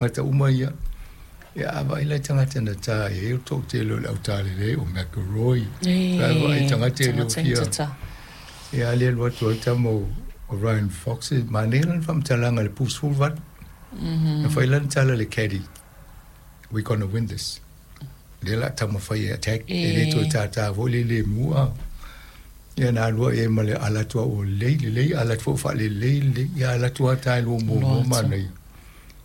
Tagata uma ia. Ia, a vaai la i tagata na ta i ai o le toatele o le autalelei o McElroy. La e vaai tagata e le o fia. Ia, a le alu atu ai tama o Ryan Fox, e manaia lana faamatalaga i le pu 18. Na fai lana tala i le caddy, We gonna win this. Lea o le a taumafai e attack, e le toe tātā foi le lemu a. Ia na alu ai ma le ala atu ua lelei lelei, ala atu foi faalelei lelei. Ia ala atu lava ta e lua muamua manaia.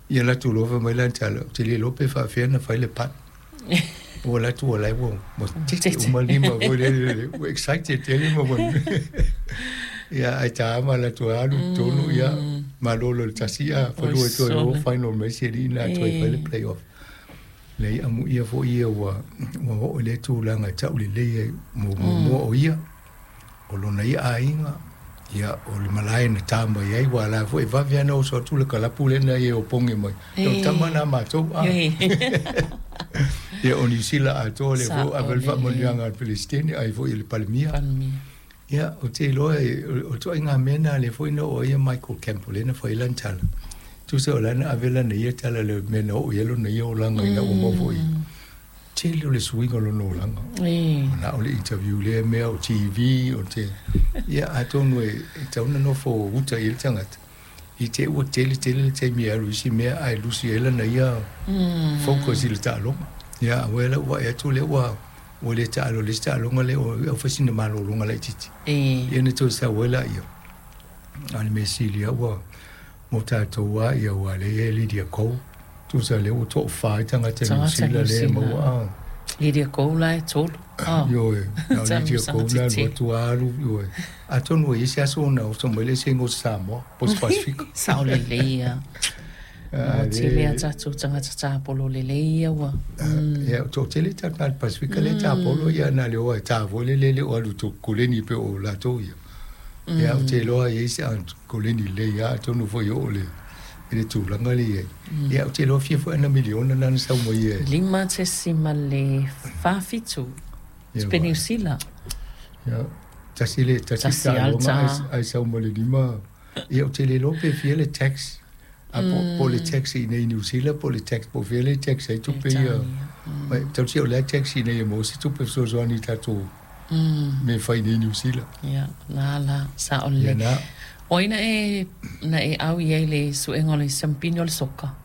Ia alu atu loa fai mai lana tala, ou te le iloa pe faapefea ona fai le putt. Ua alu atu ua la ua tete uma lima foi lele, ua excited tele ma ua Ia ae ta ma alu atu alu i totonu, ia malolo i le tasi a falua e toe o final mai si alii lena e toe fai le play off. Leai amuia foi ia ua ua oo i lea tulaga e tau lelei ai mo muamua o ia, o lona ia aiga, ia o le malae na ta mai ai, ua la foi e vave lava ona oso atu le kalapu lea na ia e opogi mai. O le tama lena a matou a. Ia o Niu Sila atoa lea foi ua ave ai le faamanuiaga a le Peresetene ai foi i le Palemia. Ia, ou te iloa o ituaiga mea na lea foi na oo ai Michael Campbell lea na fai ai lana tala. Tusa o la na ave lana ia tala i le mea na oo i ai lona ia olaga ina ua maua foi. Tele o le suiga o lona olaga. Manao le interview lea mea o TV o te ia atonu e tatau ona nofo uta i ai le tagata. I te i ua tele tele le taimi e alu i isi mea ae lusi ai lana ia focus i le taaloga. Ia aua e lau vaai atu lea ua ua le taalo i le isi taaloga lea ua fai sina malologa laitiiti. Ia ona toe sau ai laia. A o le mea sili lava ua mo tatou lava ia aua o lea e i ai Lydia Ko. Tusa lea ua toafa ai tagata Niu Sila lea e maua a. Lydia Ko la e tolu. Ioe, na o Lydia Ko na alu atu lava alu, ioe. Atonu e i ai se aso ona oso mai lea i se igoa o se Samoa po o se Pasefika. Sao lelei lava. Ua tele a tatou tagata tapolo lelei ia ua. Ia, ua toatele tagata Pasefika lea e tapolo, ia na le o e ta foi lele le o alu i koleni pei o latou ia. Ia, ou te iloa e i ai se koleni lelei lava, atonu foi e oo i le tulaga lea e i ai. Ia, ou te iloa fia foi ana miliona lena na sau mai ai. 5.47 tupe Niu Sila. Ia, tasi le tasi taaloga ae sau ma le lima. Ia, ou te le iloa pe fia le tax. A po, po le tax i inei i Niu Sila po o le tax po o fea le tax ai tupe ia. Mai, tausia o lea tax i inei e maua se tupe fesoasoani i tatou mea e fai i inei i Niu Sila. Ia, na la, sao lelei. Ia na. O ai na e, na e au i ai i le suega o le siamupini o le soka?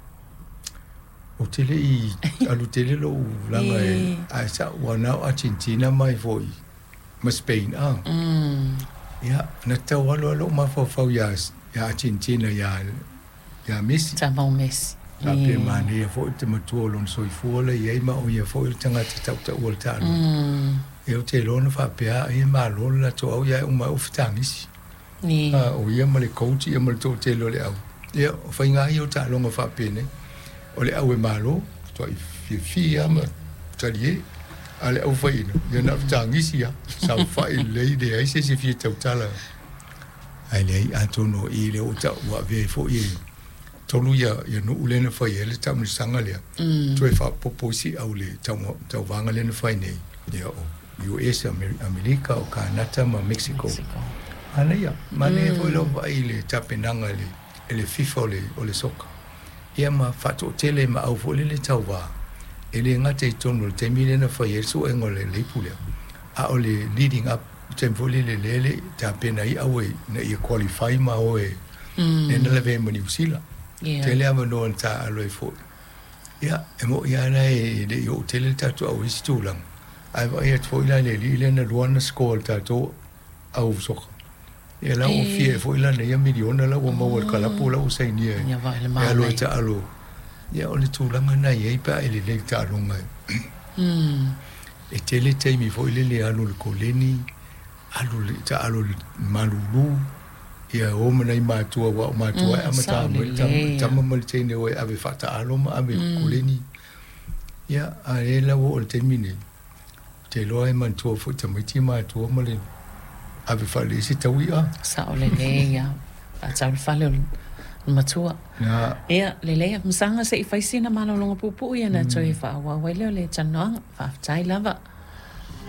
Ou te le i alu tele lou laga e, ae sa, ua na o Argentina mai foi ma Spain a. Ia, na tau alu lava lou mafaufau ia, ia Argentina ia, ia Messi. Tama o Messi. Faapea manaia foi te matua o lona soifua la i ai ma o ia foi o le tagata tautaua o le taaloga. Ia ou te iloa na faapea ai e malo le latou au ia e uma ai o fetagisi. A o ia ma le coach ia ma le toatele o le au. Ia, o faiga lava ia o taaloga faapenei. O le au e malo, matuai fiafia lava ma talie. A o le au faiaina, ia na o le fetagisi lava, saofai lelei, leai se isi e fia tautala. Ae leai, atonu o i lea ua tau, ua avea ai foi e tolu ia, ia nuu lea na fai ai le taamilosaga lea, toe faaopoopo isi au i le tauvaga lea na fai nei, ia o US, Amerika, o Kanata ma Mexico. Manaia, manaia foi lau vaai i le tapenaga e le FIFA o le soka. Ia ma faatoatele ma au foi lele tauva, e le gata i totonu o le taimi lea na fai ai le suega o le ipu lea, a o le leading up, le taimi foi lele lea e le i tapena ai au ina ia qualify ma o e lea na lavea ai ma Niu Sila. Tele avanoa na taaalo ai foi. Ia, e moni lava la e le i oo tele le tatou au i isi tulaga, ae vaai atu foi la i le alii lea na lua ana score i le tatou au soka. Ia la ua fia foi lana ia miliona la ua maua i le kalapu la ua sainia e alu ai taalo. Ia o le tulaga lena e i ai pe a e lelei i le taaloga. E tele taimi foi lele e alu i le koleni, alu i le taalo i le malulu, ia o ma nai matua aua o matua e amata mai le tama ma le teine o e ave faataalo ma ave i le koleni. Ia, a o lea la ua oo i le taimi nei, ou te iloa e manatua foi tamaiti matua ma le ave faalelei se taui'a. Sao lelei lava, faatau le fale o le matua. Ia, lelei, masaga se i fai sina malologa puupuu ia ona toe faaauau ai lea o le talanoaga. Faafetai lava.